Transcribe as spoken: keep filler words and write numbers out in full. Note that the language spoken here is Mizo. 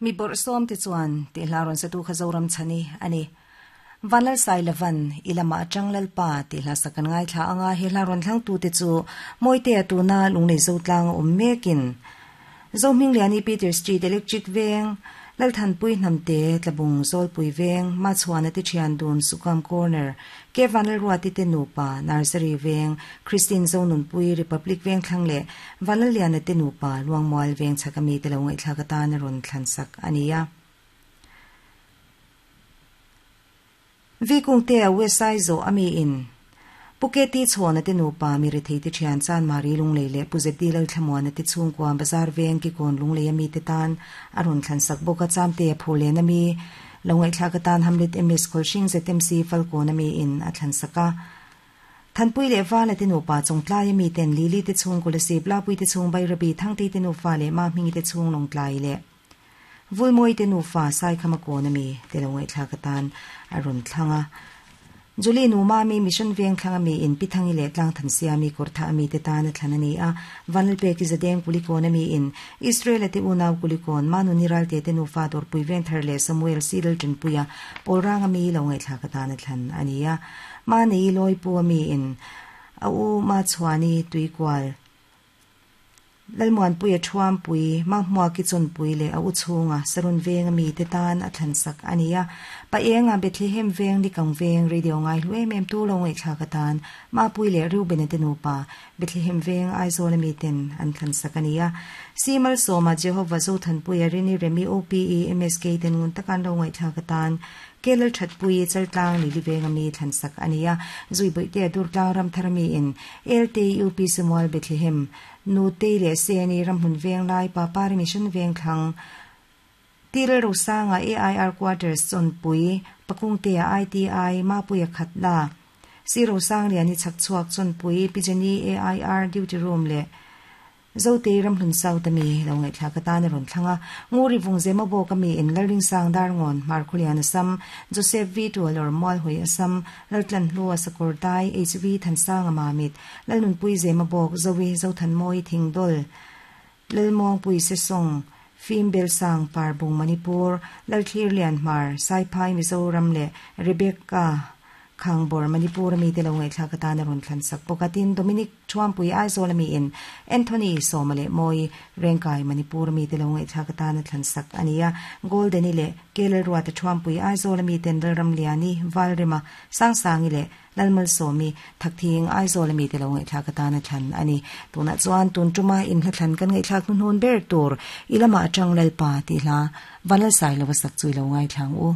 Mi bawrh sawm te chuan tih hla rawn satu kha Zoram chhani a ni. Vanlal Sai Lavan i lamah atang Lalpa tih hla sak kan ngaithla anga he hla rawn thlangtu te chu Mawitea tuna lunglei zo tlang a awm mekin Zohmingliani Peter Street Electric Veng Lalthanpui Hnamte Tlabung Zawlpui Veng Machhuana te thian dun Sukam Corner Ke Vanlalruati te nupa Nursery Veng Christine Zonunpui Republic Veng thlang leh Vanlalliana te nupa Luangmual Veng chhak ami te lo ngaihthlak atan a rawn thlan sak a ni a. Vikungtea Westside zawh ami in Puketi chhuahna te nupa mi rethei te thian chan Mari Lunglei leh Pu Zeti Lalthlamuana te chhungkua Bazar Veng Kikawn Lunglei ami te tan a rawn thlan sak bawk a Chamte a phur len ami lo ngaihthlak atan Hamlet M S Khawlhring Z M C Falkawn ami in a thlan sak a. Thanpui leh Vala te nupa Chawngtlai ami ten Lili te chhung Kolasib Lapui te chhung Bairabi Thangtei te nufa leh Mahmingi te chhung Lawngtlai leh Vulmawi te nufa Saikhama kawn ami te lo ngaihthlak atan a rawn thlang a. Julie nu Mami Mission Veng thlang ami in Pithangi leh Tlangthansia ami Kawrtha ami te tan a thlan a ni a. Vanlalpeki Zadeng Kulikawn ami in Israel-a te unau Kulikawn Manuni Ralte te nufa Dawrpui Vengthar leh Samuel Sidal Tanpuia Pawlrang ami lo ngaihthlak atan a thlan a ni a. Manei Lawipu ami in a u Machhuani Tuikual Lalmuanpuia Thuampui, Mahmuaki Chawnpui leh a u chhunga Sarun Veng ami te tan a thlan sak a ni a. Paenga Bethlehem Veng Likang Veng Radio ngai hlu em em tu lo ngaihthlak atan Mapui leh Reuben-a te nupa Bethlehem Veng Aizawl ami ten an thlan sak a ni a. Simal Sawma Jehovah Zothanpuia Rini Remi O P E M S K ten ngun takan lo ngaihthlak atan Kelal Thatpui Chaltlang Lili Veng ami thlan sak a ni a. Zuibawihtea Durtlang Ramthar ami in L T U P Samuel Bethlehem Nu Tei leh Seni Ramhmun Veng lai Papari Mission Veng thlang Tirel Rosanga A I R Quarters Chawnpui Pakungtea I T I Mapuia Khatla Si Rosang Liani Chhakchhuak Chawnpui Pijani A I R Duty Room leh Zotei Ramhlun South ami lo ngaihthlak atan a rawn thlang a. Nguri Vungzema bawk ami in Lalring Sang Darngawn Markhulian Assam Joseph V Tualor Mualhui Assam Laltlan Hlua Sakawr Dai H V Thansanga Mamit Lalnunpui Zema bawk Zoe Zothanmawi Thingdol Lalmuangpui Sesong Fim Belsang Parbung Manipur Lalthlir Lianhmar Saiphai Mizoram leh Rebecca Khangbor Manipur ami te lo ngaihthlak atan a rawn thlan sak bawk a. Tin Dominic Thuampui Aizawl ami in Anthony Sawma leh Mawi Rengkai Manipur ami te lo ngaihthlak atan a thlan sak a ni a. Goldeni leh Kelal Ruata Thuampui Aizawl ami ten Lalram Liani Valrema Sangsangi leh Lalmal Sawmi Thakthing Aizawl ami te lo ngaihthlak atan a thlan a ni. Tunah chuan tun tuma in hla thlan kan ngaihthlak hnuhnun ber tur i lamah atang Lalpa tih hla Vanlal Sailoa sak chu i lo ngaithlang u.